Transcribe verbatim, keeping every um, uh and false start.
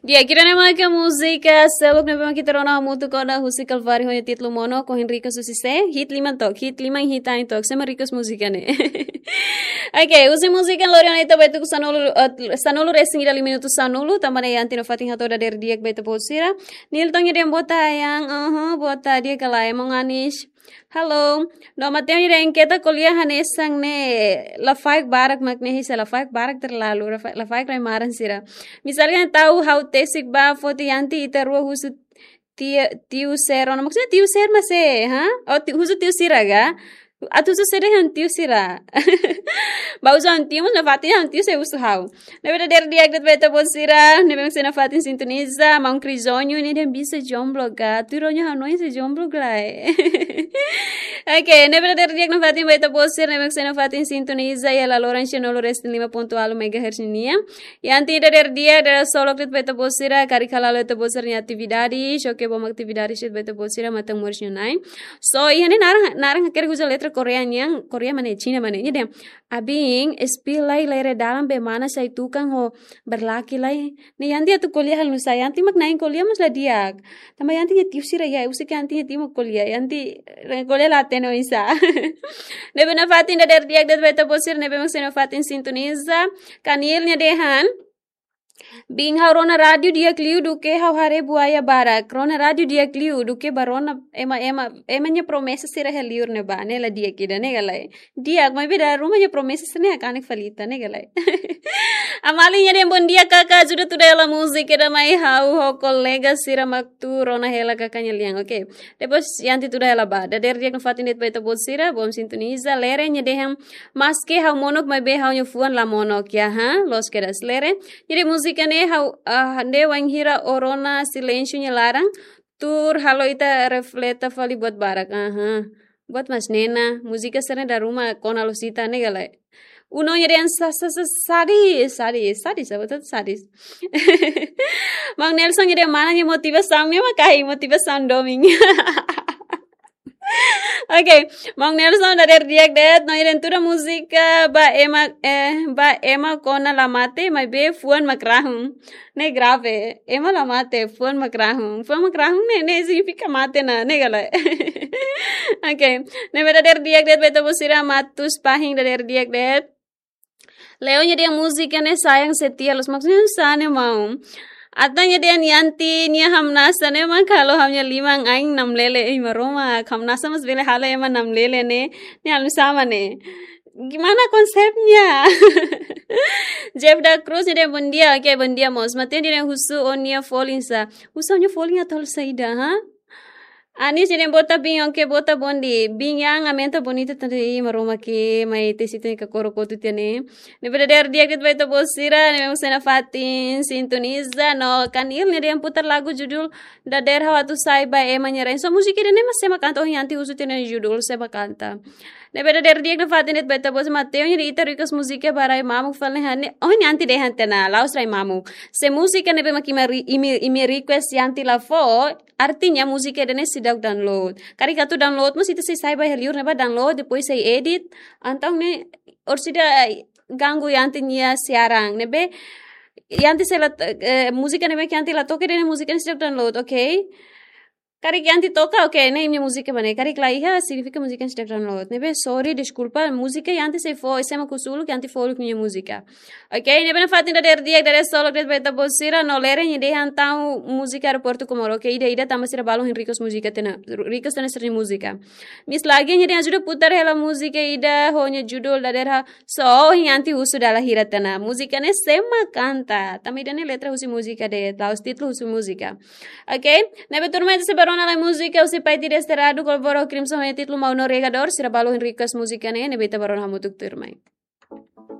Di'ak, ida-ne'e maka múzika seluk ne'ebé mak ita rona hamutuk ona husi Kalvari ho nia títulu Mono, ohin request husi sé, hit liman took, hit liman hit ain took, sé mak request múzika ne'e. Oke, husi múzika lori ona ita ba tuku sanulu, eh, sanulu resin ida liu minutu sanulu, tanba ne'e Yanti nafatin hato'o dadeer di'ak ba ita-boot sira. Nilton nia dehan boa tarde, yang, aha, boa tarde, kala emang anis. Halo, no Mateo nia dehan keta ko'alia hanesan ne'e, lafaek barak mak ne'e, sá, lafaek barak terlalu, lafa-, lafaek rai maran sira. Misalnya tahu ha'u tesik ba foti Yanti ita rua husu tia-, tiu sero, no maksudnya tiu sero mas sé, ha? Oh, ti-, husu tiu sira ka? Atu husu sé dehan tiu sira. Ba husu ha'u tiu mas nafatin ha'u tiu sé husu ha'u. Ne'ebé dadeer di'ak de'it ba ita-boot sira, ne'ebé mak sei nafatin sintoniza, maun Krizonyo nia dehan bisa jomblo ka, tuir ó-nia hanoin sei jomblo lai. Oke, ne'ebé dadeer di'ak nafatin ba ita-boot sira, ne'ebé mak sei nafatin sintoniza, iha laloran sanulu resin lima pontu ualu megahertz nian. Yanti dadeer di'ak, dadeer solok de'it ba ita-boot sira, karik hala'o ita-boot sira-nia atividade, xoke bom atividade de'it ba ita-boot sira, matan moris nia na'in. So, iha ne'e naran, naran hakerek uza letra Korea nian, Korea mak ne'e, Xina mak ne'e, nia dehan, abin, spill lai lere dalan be mana sai tukan ho berlaki lai. Ne'e Yanti atu ko'alia halo nusá, Yanti mak na'in ko'alia mas la di'ak. Tanba Yanti nia tiu sira iha, husik Yanti nia tiu mak ko'alia, Yanti, eh, ko'alia la hatene oinsá. Ne'ebé nafatin dadeer di'ak de'it ba ita-boot sira, ne'ebé mak sei nafatin sintoniza. Kanil nia dehan, bin ha'u rona rádiu di'ak liu duké ha'u haree buaya barak. Rona rádiu di'ak liu duké bá rona ema, ema, ema nia promesa sira iha liur ne'ebá, ne'e la di'ak ida, ne'e ka lae? Di'ak, maibé dala ruma nia promesa sira ne'e hakanek fali ita, ne'e ka lae? Amali nia dehan bom dia kaka, ajuda tuda hela múzika ida mai ha'u ho kolega sira mak tuur rona hela kaka nia lian, oke. Depois Yanti tuda hela ba. Dadeer di'ak nafatin de'it ba ita-boot sira, bom sintoniza, Lere nia dehan maske ha'u monok maibé ha'u-nia fuan la monok, ya, ha? Loos kedas, Lere. Nia dehan múzika ne'e ha'u, ah, ne'e wainhira ó rona silénsiu nia laran, tuur halo ita refleta fali buat barak. Aha. Buat mas nena, múzika sira-ne'e dala ruma kona loos ita, ne'e ka lae? Uno nia dehan sa-, sa-, sa-, sadis, sadis, sadis, apa tuh sadis? Maun Nelson nia dehan mana nia motivasaun, nia mak karik motivasaun domin. Oke, maun Nelson dadeer di'ak de'it, no nia dehan tuda múzika ba ema, eh, ba ema kona la mate, maibé fuan mak rahun. Ne'e grave, ema la mate, fuan mak rahun. Fuan mak rahun ne'e, ne'e signifika mate ona, ne'e ka lae? Oke, ne'ebé dadeer di'ak de'it ba ita-boot sira, Matus Pahin dadeer di'ak de'it. Leo nia dehan múzika ne'e sayang setia loos, maksudnya sá ne'e maun? Atan nia dehan Yanti nia hamnasa ne'e mak halo ha'u-nia liman ain namlele, ei Maromak, hamnasa mas bele halo ema namlele ne'e, ne'e halo sama ne'e. Gimana konsepnya? Jeff da Cruz nia dehan bom dia, oke, bom dia mós. Mateo nia dehan husu ó-nia folin sá. Husu ha'u-nia folin atu halo saida, ha? Anis nia dehan bota bin, oke, bota bonde. Bin yang aumenta bonita tadi Maromak ke mai tesi tani ka koro kotu tiha ne'e. Ne'ebé dadeer di'ak de'it ba ita-boot sira, ne'ebé mak sei nafatin sintoniza, no Kanil nia dehan putar lagu judul Dadeer Ha'u Atu Sai ba Ema Nia Rain. So múzika ida-ne'e mas sé mak kanta, ohin Yanti husu tiha nia judul, sé mak kanta. Ne'ebé dadeer di'ak nafatin de'it ba ita-boot sira, Mateo nia dehan ita request múzika ba rai mamuk fali ne'e, ohin Yanti dehan tiha ona, la'ós rai mamuk. Se múzika ne'ebé mak imi re-, imi, imi request Yanti la fó, artinya múzika ida-ne'e seidauk download. Karik atu download mós ita sei sai ba iha liur ne'ebá download, depois sei edit. Entaun ne'e orsida ganggu Yanti nia siaran. Ne'ebé Yanti sei la, eh, múzika ne'ebé Yanti la toka ida-ne'e múzika ne'e seidauk download, oke? Karik Yanti toka, oke, ne'e imi-nia múzika mak ne'e. Karik la iha, signifika múzika ne'e seidauk download. Ne'ebé sorry, deskulpa, múzika Yanti sei fó, sé mak husu uluk, Yanti fó uluk nia múzika. Oke, ne'ebé nafatin dadeer di'ak, dadeer solok de'it ba ita-boot sira, no Lere nia dehan tau múzika Aeroportu Comoro. Oke, ida, ida tanba sira balu ohin request múzika tiha ona, request tiha ona sira-nia múzika. Miss Lagi nia dehan ajuda putar hela múzika ida ho nia judul Dadeer Ha'u. So, ohin Yanti husu dala hira tiha ona. Múzika ne'e sé mak kanta. Tanba ida-ne'e letra husi múzika de'it, la'ós títulu husi múzika. Oke, ne'ebé tuirmai ita sei bá rona lai múzika husi Pai Ti Desterrado, Kolboro Crimson ho nia títulu Mau Navegador, sira balu ohin request múzika ne'e, ne'ebé ita bá rona hamutuk tuirmai.